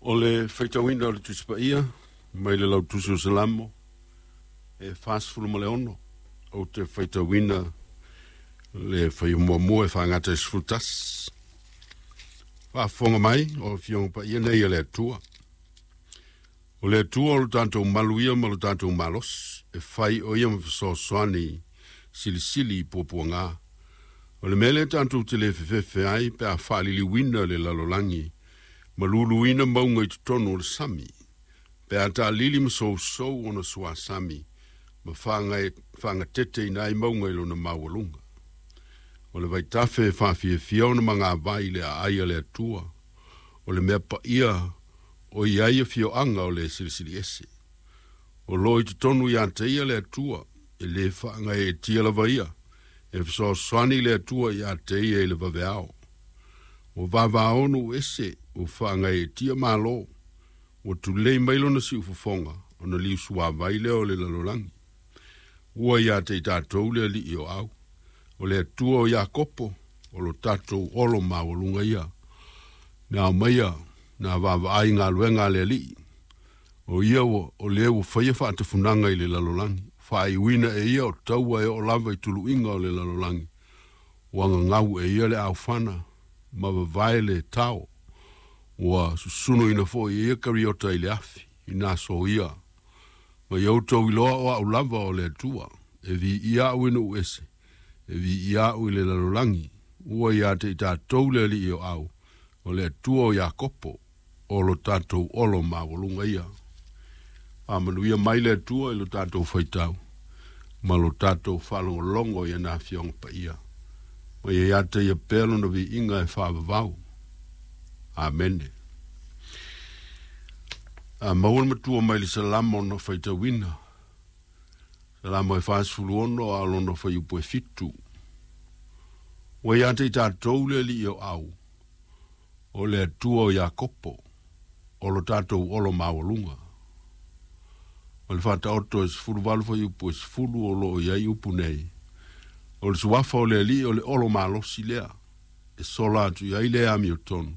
O le faitauina o le Tusi Paia mai le Lautusi o Salamo e 46, ou te faitauina le fuaiupu 1 e faagata i le 11. Faafofoga mai o Afioga Paia nei a le Atua. O le Atua o lo tatou malu ia ma lo tatou malosi, e fai o ia ma fesoasoani silisili i puapuaga. O le mea lea tatou te le fefefe ai pe a faaliliuina le lalolagi ma luluina mauga i totonu o le sami, pe a taalili ma sousou ona suasami ma faagateteina ai mauga i lona maualuga. O le vaitafe e faafiafia ona magavai i le aai a le Atua, o le mea paia o i ai afioaga o le Silisili Ese. O lo o i totonu ia te ia le Atua, e lē faagaeetia lava ia, e fesoasoani le Atua ia te ia i le vaveao. Ua vavao nuu ese, ua faagaeetia malo, ua tulei mai lona siufofoga, ona liusuavai lea o le lalolagi. Ua ia te i tatou le Alii o Au, o le Atua o Iakopo, o lo tatou olo maualuga ia. Na aumaia na vaavaai galuega a le Alii, o ia ua, o le ua faia faatafunaga i le lalolagi, faaiuina e ia o taua e oo lava i tuluiga o le lalolagi, ua gagau e ia le aofana ma vavae le tao, ua susunuina foi e ia kariota i le afi, i nā soia. Ma ia outou iloa o au lava o le Atua, e viia au i nuu ese, e viia au i le lalolagi, ua ia te i tatou le Alii o Au, o le Atua o Iakopo, o lo tatou olo maualuga ia. Faamanuia mai le Atua i lo tatou faitau ma lo tatou faalogologo i ana Afioga Paia. Ma ia ia te ia pea lona viiga e faavavau. Amene. A maua le matua mai le Salamo na faitauina. Salamo e 46 a o lona fuaiupu e 7. Ua ia te i tatou le Alii o Au, o le Atua o Iakopo, o lo tatou olo maualuga. Ma le Faataoto e 18 fuaiupu e 10 o lo o i ai upu nei. O le suafa o le Alii o le olo malosi lea, e sola atu i ai le amiotonu,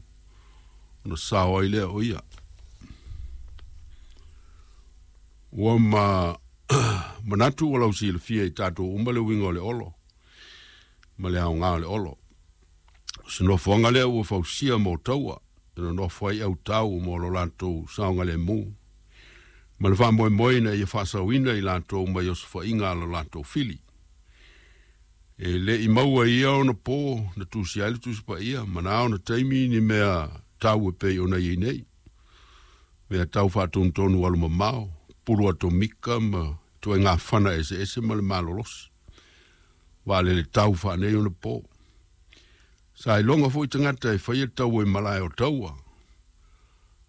ona sao ai lea o ia. Ua ma manatu ua lausilafia i tatou uma le uiga o le olo ma le aoga o le olo. O se nofoaga lea ua fausia mo taua, e nonofo ai autau mo lo latou saogalemu, ma le faamoemoe ina ia faasaoina i latou mai osofaiga a lo latou fili. E le i maua i ia ona po na tusia ai le Tusi Paia, ma na ona taimi ni mea tau e pei ona i ai nei. Mea tau faatonutonu alumamao, pulu atomika ma ituaiga fana eseese ma le malolosi. Vaalele tau faaneionapo. Sa iloga foi tagata e faia taua i malae o taua,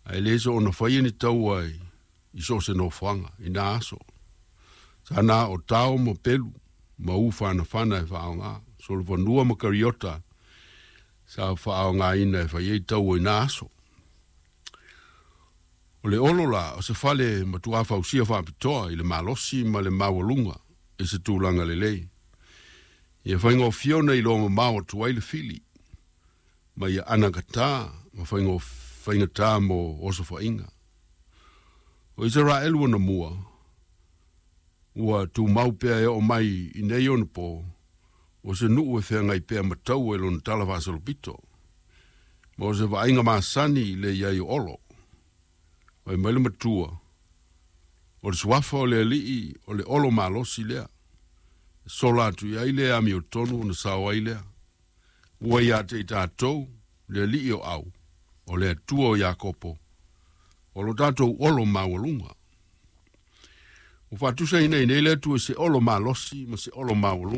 ae le soona faia ni taua i so o se nofoaga i nā aso. Sa na o tao ma pelu ma u fanafana e faaaoga, solofanua ma kariota sa faaaogaina e fai ai taua i nā aso. O le olo la, o se fale matuā fausia faapitoa i le malosi ma le maualuga i se tulaga lelei. Ia faigofie ona iloa mamao atu ai le fili, ma ia anagatā ma faigatā mo osofaiga. O Isaraelu anamua, ua tumau pea e oo mai i nei onapo, o se nuu e feagai pea ma taua i lona talafaasolopito, ma o se vaaiga masani le i ai o olo. Fai mai le matua, o le suafa o le Alii o le olo malosi lea, e sola atu i ai le amiotonu ona sao ai lea. Ua ia te i tatou le Alii o Au, o le Atua o Iakopo, o lo tatou olo maualuga. Ua faatusaina i nei le Atua i se olo malosi ma se olo maualuga.